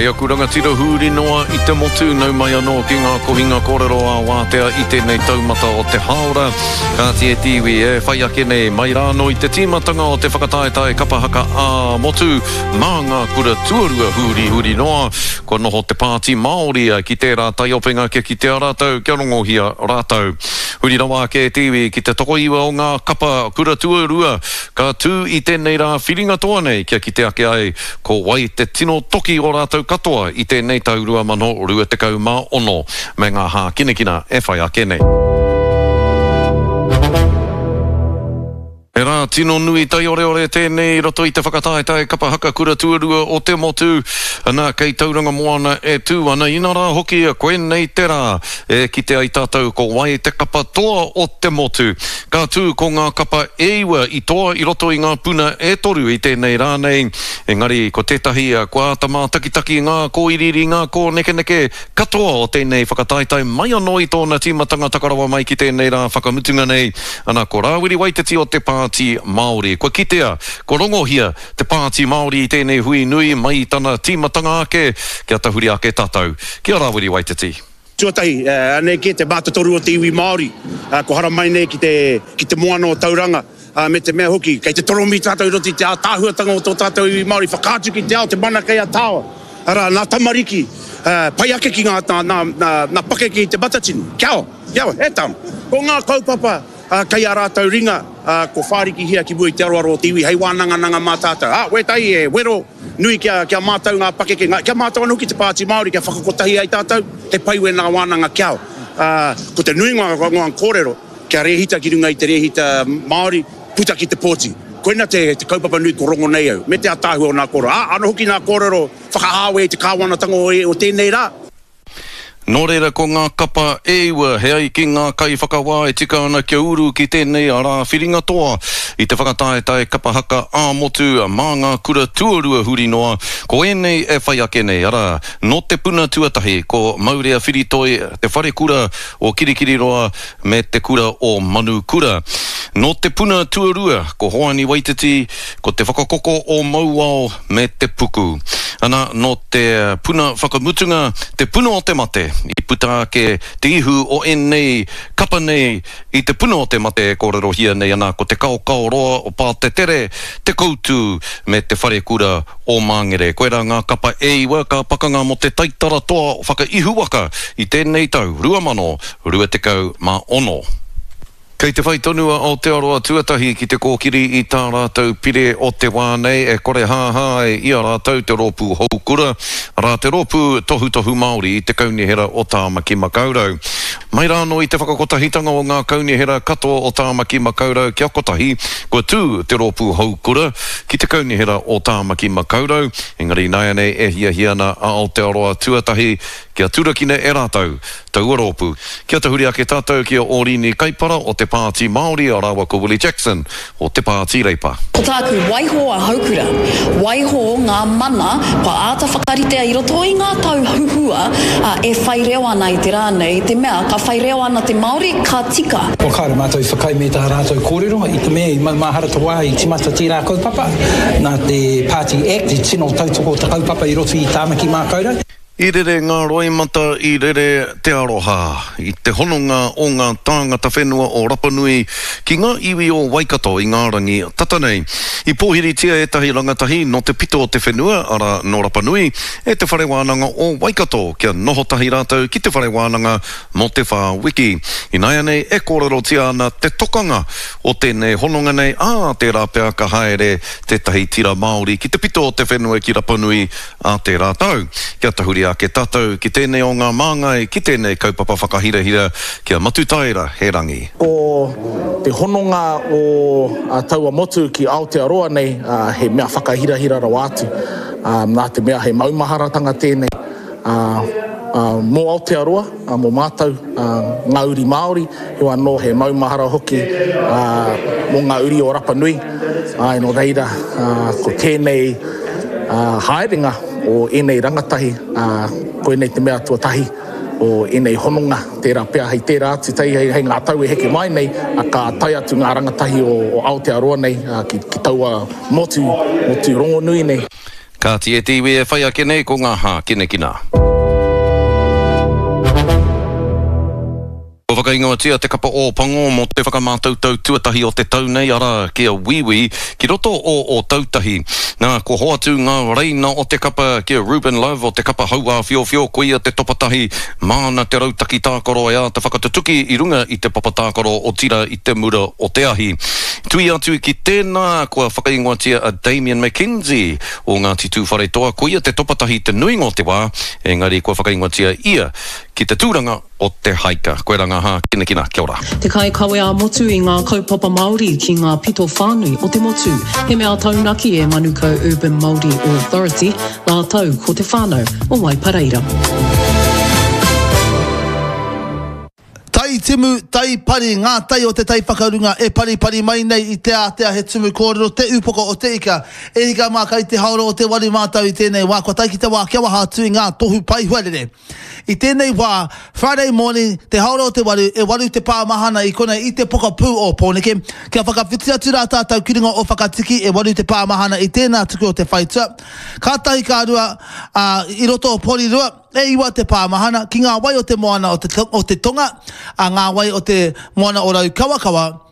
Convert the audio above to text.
Kei aku rangatira hūri noa i te motu, nau mai anō ki ngā kohinga kōrero ā-wātea i tēnei taumata o te hāora. Kāti e te iwi, e whai ake nei, mai rānō i te tīmatanga o te whakataetae kapa haka ā-motu mā ngā kura tuarua hūrihuri noa, kua noho te Pāti Māori ki tērā taiopenga kia kitea rātou, kia rongohia rātou. Huri rawa ake e te iwi ki te tokoiwa o ngā kapa kura tuarua ka tū i tēnei rā whiringa toa nei kia kite ake ai Ko wai te tino toki o rātou katoa i tēnei tau 2026 me ngā hākinakina e whai ake nei? He rā tino nui taioreore tēnei i roto i te whakataetae kapa haka kura tuarua o te motu, ana kei Tauranga Moana e tū ana, inarā hoki koinei te rā e kite ai tātou ko wai te kapa toa o te motu. Ka tū ko ngā kapa e iwa i toa i roto i ngā puna e toru i tēnei rā nei, engari ko tētahi kua āta mātakitaki ngā kōiriiri, ngā kōnekeneke katoa o tēnei whakataetae mai anō i tōna tīmatanga taka rawa mai ki tēnei rā whakamutunga nei, ana ko Rāwiri Waititi o te Pāti Māori. Kua kitea, kua rongohia te Pāti Māori i tēnei hui nui mai i tana tīmatanga ake, kia tahuri ake tātou ki a Rāwiri Waititi. Tuatahi, anei kē te mātotoru o te iwi Māori, kua haramai nei ki te, ki te moana o Tauranga, me te mea hoki, kei te toromi tātou i roto i te ātaahuatanga o tō tātou iwi Māori, whakaatu ki te ao te mana kei a Tāoa, arā, nā tamariki, pai ake ki ngā, nā, nā, nā, nā pakeke i Te Matatini. Kia ora, kia ora, e tama. Ko ngā kaupapa kei ā rātou ringa, kua whārikihia ki mua i te aroaro o te iwi hei wānangananga mā tātou. Ā, wētahi e wero, Nui kia, kia mātau ngā pakeke, ngā, kia mātau anō hoki te Pāti Māori kia whakakotahi ai tātou, he pai wēnā wānanga kia, ā, ko te nuinga o ngā kōrero, kia rēhita ki runga i te rēhita Māori, puta ki te pōti. Koina te, te kaupapa nui ko rongo nei au, me te ataahua o nā kōrero. Ā, anō hoki nā kōrero whakahāwe i te kāwanatanga o, o tēnei rā. Nō reira ko ngā kapa e iwa he ai ki ngā kaiwhakawā e tika ana kia uru ki tēnei rā whiringa toa i te whakataetae kapa haka ā-motu mā ngā kura tuarua huri noa, ko ēnei e whai ake nei, arā, nō te puna tuatahi ko Maurea Whiritoi, Te Wharekura o Kirikiriroa me Te Kura o Manukura. Nō te puna tuarua ko Hoani Waititi, ko Te Whakakoko o Mauao me Te Puku. Ana, nō te puna whakamutunga, te puna o te mate, i puta ake te ihu o ēnei kapa nei i te puna o te mate e kōrerohia nei ana ko Te Kaokaoroa o Pātetere, Te Koutu me Te Wharekura o Māngere. Koirā ngā kapa e iwa ka pakanga mō te taitara toa whakaihuwaka i tēnei tau 2026. Kei te whai tonu a Aotearoa Tuatahi ki te kōkiri i tā rātou pire o te wā nei e kore hāhā ai i a rātou te rōpū Houkura, arā te rōpū tohutohu Māori i te Kaunihera o Tāmaki Makaurau. Mai rā anō i te whakakotahitanga o ngā kaunihera katoa o Tāmaki Makaurau kia kotahi, kua tū te rōpū Houkura ki te Kaunihera o Tāmaki Makaurau, engari ināianei e hiahia ana a Aotearoa Tuatahi kia turakina e rātou taua rōpū. Kia tahuri ake tātou ki a Ōrini Kaipara o te Pāti Māori rāua ko Willie Jackson o te Pāti Reipa. Ko tāku, waiho a Houkura, waiho ngā mana kua āta whakaritea i roto i ngā tau huhua e whai reo ana i te rā nei, i te mea ka whai reo ana te Māori, ka tika. Kua kāore mātou i whakaae me tā rātou kōrero, i te mea i maumahara te wā i timata tērā kaupapa, nā te Party Act i tino tautoko te kaupapa i roto i Tāmaki Mākaurau. I rere ngā roimata, i rere te aroha, i te hononga o ngā tāngata whenua o Rapanui ki ngā iwi o Waikato i ngā rangi tata nei. I pōhiritia ētahi rangatahi nō te pito o te whenua, arā, nō Rapanui, e Te Whare Wānanga o Waikato kia noho tahi rātou ki te whare wānanga mō te whā wiki. Ināianei e kōrerotia ana te tokanga o tēnei hononga nei, ā, tērā pea ka haere tētahi tira Māori ki te pito o te whenua ki Rapanui Ā tērā tau, kia tahuri ake tātou ki tēnei o ngā māngai ki tēnei kaupapa whakahirahira, ki a Matutaera he rangi. Ko te hononga o taua motu ki Aotearoa nei he mea whakahirahira rawa atu, nā te mea he maumaharatanga tēnei mō Aotearoa, mō mātou ngā uri Māori, heoi anō he maumahara hoki mō ngā uri o Rapa Nui, āe nō reira ko tēnei haerenga o ēnei rangatahi, koinei te mea tuatahi o ēnei hononga, tērā pea hei tērā atu, hei ngā tau e heke mai nei, ka tae atu ngā rangatahi o Aotearoa nei ki taua motu, motu rongonui nei. Kāti e te iwi e whai ake nei ko ngā hākinakina. Kua whakaingoatia te kapa Ō Pango mō te whakamātautau tuatahi o te tau nei, arā, ki a Wīwī, ki roto o Ōtautahi. Nā, kua hoatu ngā reina o te kapa ki a Ruben Love o te kapa Hauāwhiowhio, koia te topatahi māna te rautaki tākaro e āta whakatutuki i runga i te papa tākaro otirā i te mura o te ahi. Tuia atu ki tēnā, kua whakaingoatia a Damian McKenzie o Ngāti Tūwharetoa, koia te topatahi te nuinga o te wā, engari kua whakaingoatia ia ki te tūranga o te haika. Koirā ngā hākinakina. Kia ora. Te kaikawe ā-motu i ngā kaupapa Māori ki ngā pito whānui o te motu. He mea taunaki e Manukau Urban Māori Authority rātou ko te whānau o Waipareira. Tai timu, tai pari, ngā tai o te tai whakarunga e paripari mai nei i te ātea he tumu kōrero te upoko o te ika. E hika mā kai te haora o te waru mātau i tēnei wā kua tae ki te wā kia waha atu i ngā tohu pae huarere. I tēnei wā, Friday morning, te haora o te waru, e waru te pā mahana i konei i te pokapū o Pōneke. Kia whakawhiti atu rā tātou ki runga o Whakatiki, e waru te pā mahana i tēnā tuku o te whaitua. Kātahi ka rua, ā, i roto o Porirua, e iwa te pā mahana, ki ngā wai o te moana o te, o te tonga, ā, ngā wai o te moana o Raukawakawa.